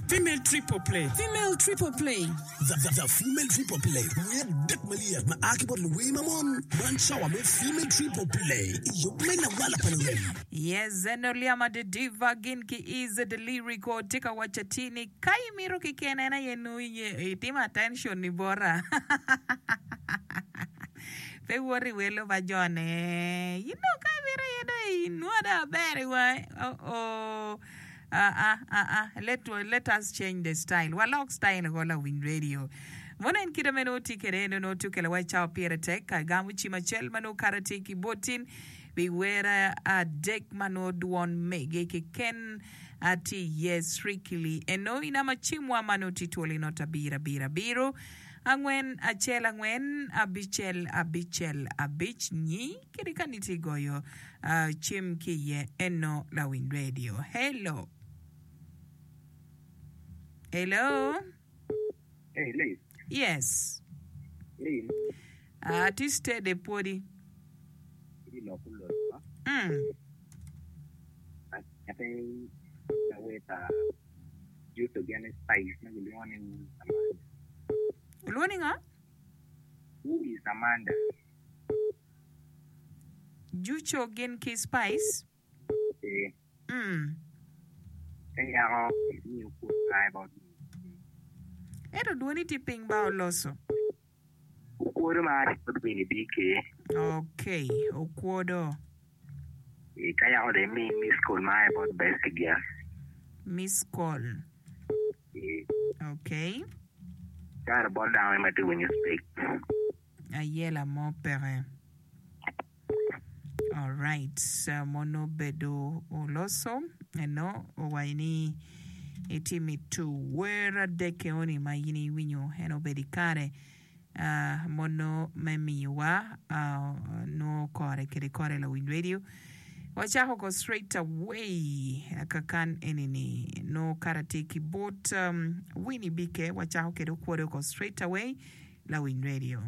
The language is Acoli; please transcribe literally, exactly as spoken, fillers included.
Female Triple Play. Female Triple Play. The, the, the Female Triple Play. Wer adek malyet ma a ki bot luwer ma mon. Man cawa me Female Triple Play. I yub me lawala pa lurem. Yes, eno Liama the Diva gin ki is the lyrical tye ka waco atir ni ka imito keken en aye nongo itimo attention ni bota. Pe woto i welo pa jone. You know ka imito aye dong inwodo aber i wangi. Oh oh. Ah ah ah ah. Let, let us change the style. Walok style ko lawiny radio. Mono en kite me nongo tye kwede eno nongo tye okelo wa i cawa pire tek ka gamo cim acel ma nongo kare tye ki botin pi wer adek ma nongo dwon mege keken tye iye strictly eno i namba cimwa ma nongo tye twolo i not abiro abiro abiro angwen acel angwen abicel abicel abic nyi kede ka nitye goyo cim ki iye eno lawiny radio. Hello. Hello. Hey, Liz. Yes. Lin, Uh, tye steady pwodi. i lok olot Mm. ate laweta Juto gin Spice ma gilwongo ni Who is Amanda. Ulwongo ni ngo? Who is Amanda? Juco gin ki Spice. Eh, Mm. ka yako imiyo kwot ma about Ento dwoni tye piny ba oloso. okwodo ma bot Winnie BK. Okay, okwodo. Eh, ka yako de imi miss call ma about Best Girl. Miss call. Eh, Okay. kare bot dano ma tye winyo speak. Ayela mo peke. Alright, uh, mono bedo oloso eno owaco ni itye mito wer adek eoni ma in iwinyo en obedo i kare uh, mono me miyowa uh, nongo kore kede kore lawiny radio wacako ko straight away kakan enini no kara tye ki bot um, Winnie BK wacako kede okwodo ko straight away lawiny radio.